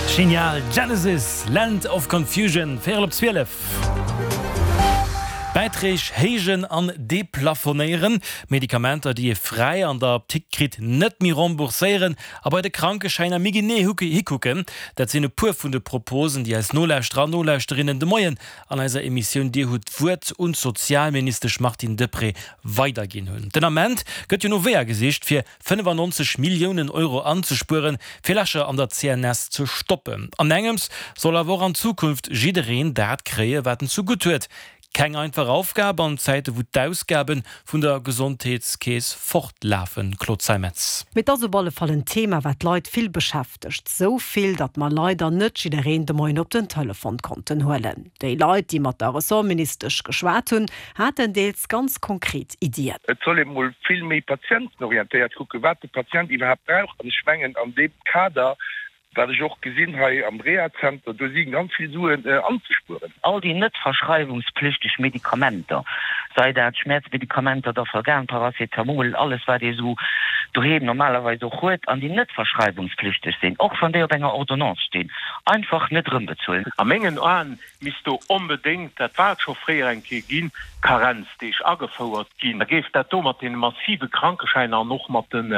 Genial! Genesis, Land of Confusion, véierel op 12. Bäiträg héijen an deplafonéieren, Medikamenter, déi ee fräi an der Apdikt kritt, net méi rembourséieren a bei de Krankeschäiner méi genee hikucken, dat sinn e puer vun de Proposen, déi eis Nolauschterer an Nolauschterinnen de Moien an eiser Emissioun Dir hutt d'Wuert un d'Sozialministesch Martine Deprez weiderginn hunn. Den Ament gëtt jo no Weeër gesicht, fir 95 Milliounen Euro anzespueren, fir Lächer an der CNS ze stoppen. An engems soll awer och an Zukunft jiddereen dat kréie wat en zu gutt huet. Keng einfach Aufgab an Zäite wou d'Ausgabe vun der Gesondheetskeess fortlafen. Claude Zeimetz. Mee et ass op alle Fall en Thema wat d'Leit vill beschäftegt. Sou vill, datt mer leider net jiddereen de Moien op den Telefon konnten huelen. Déi Leit, déi mat der Ressortministesch geschwat hunn, haten deels ganz konkret Iddien. Et soll ee mol vill méi patientenorientéiert kucken, wat de Patient iwwerhaapt brauch. An ech mengen, an deem Kader, wat ech och gesinn hei am Rehazenter, do si ganz vill Suen anzespueren. All déi net verschreiwungspflichteg Medikamenter, sei dat Schmäerzmedikamenter, Dafalgan, Paracetamol, alles wat ee sou doheem normalerweis och huet, an déi net verschreiwungspflichteg sinn, och wann déi op enger Ordonnance stinn, einfach net erëmbezuelen. A mengen Aen misst do onbedéngt, dat war et scho fréier eng Kéier ginn, Karenzdeeg agefouert ginn. Da géif dat do mat deene massive Krankeschäiner an och mat den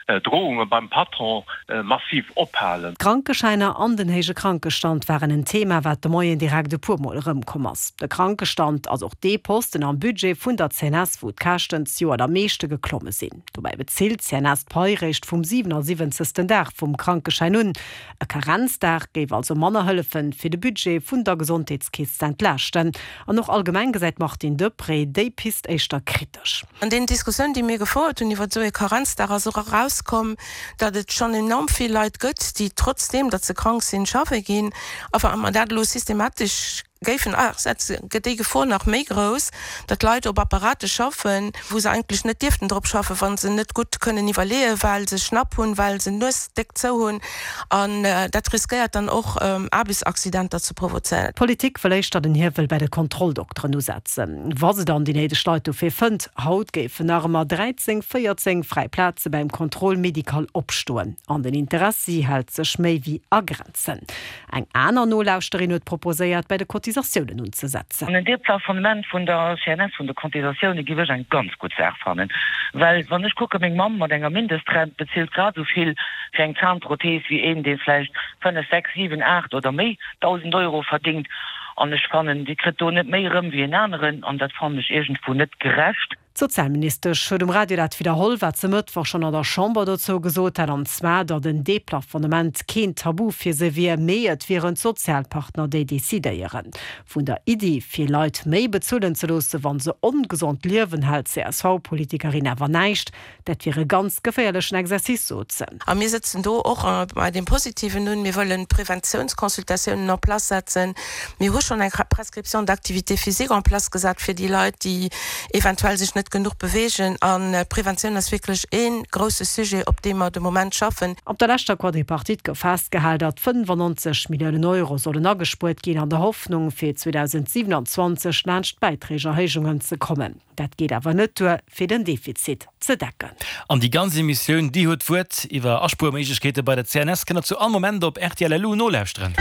Drohunge beim Patron massiv ophalen. D'Krankeschäiner an den héije Krankestand waren en Thema, wat de Moien direkt e puer Mol erëmkomm ass. De Krankestand ass och dee Posten am Budget vun der CNS, wou d'Käschten zejoert am meeschte geklomme sinn. Dobäi bezilt d'CNS d'Pai réischt vum 77. Dag vum Krankeschäin un. E Karenzdag géif also manner hëllefen, fir de Budget vun der Gesondheetskeess ze entlaaschten. An och allgemeng gesäit d'Martine Deprez déi Pist éischter kritesch. An deenen Diskussiounen, déi mir gefouert hunn iwwer esou ee Karenzdag, ass och erauskomm, datt et schonn enorm vill Leit gëtt, déi trotzdeem, datt se krank sinn, schaffe ginn. A wa mer dat elo systematesch géifen asetzen, gëtt déi Gefor nach méi grouss, datt Leit op Apparate schaffen, wou se eigentlech net dierften drop schaffen, wa se net gutt kënnen iwwerleeën, well se Schnapp hunn, well se d'Nues déck zou hunn. An dat riskéiert dann och Aarbechtsaccidenter ze provozéieren. D'Politik wëll éischter den Hiewel bäi de Kontrolldokteren usetzen, wa se dann déi néideg Leit dofir fënnt. Haut géifen nach ëmmer 13, 14 fräi Plaze bäim Contrôle médical opstoen. An den Interessi hält sech méi wéi a Grenzen. Eng aner Nolauschterin huet proposéiert, bäi de Cotisatiounen unzesetzen. An en Deplafonnement vun der CNS, vun de Cotisatioune giff ech eng ganz gutt Saach fannen. Well wann ech kucken, meng Mamm mat enger Mindestrent bezilt grad esou vill fir eng Zahnprothese wéi een, dee vläicht 5, 6, 7, 8 oder méi 1.000 Euro verdingt. An ech fannen, déi kritt do net méi erëm wéi en aneren. An dat fannen ech iergendwou net gerecht. D'Sozialministesch huet um Radio dat widderholl, wat se Mëttwoch schonn an der Chamber dozou gesot hat, an zwar, datt en Deplafonnement keen Tabu fir se wier, mee et wieren d'Sozialpartner, déi decidéieren. Vun der Iddi, fir Leit méi bezuelen ze loosse wa se ongesond liewen, hält d'CSV-Politikerin awer näischt. Dat wier e ganz geféierlechen Exercice, sot se. A mir sëtzen do och bei deem Positiven un. Mir wëllen Preventiounsconsultatiounen en place setzen. Mir hu schonn eng Prescription d'activité physique en place gesat fir déi Leit, déi eventuell sech net genuch beweegen. An d'Preventioun ass wierklech ee grousse Sujet, op deem mer de Moment schaffen. Op der leschter Quadripartite gouf festgehal, datt 95 Milliounen Euro sollen agespuert ginn, an der Hoffnung, fir 2027 laanscht d'Bäiträgerhéijungen ze kommen. Dat geet awer net duer, fir den Defizit ze decken. An déi ganz Emissioun Dir huet d'Wuert iwwer Aspuerméiglechkeete bei der CNS kënnt der zu all Moment op rtl.lu nolauschteren.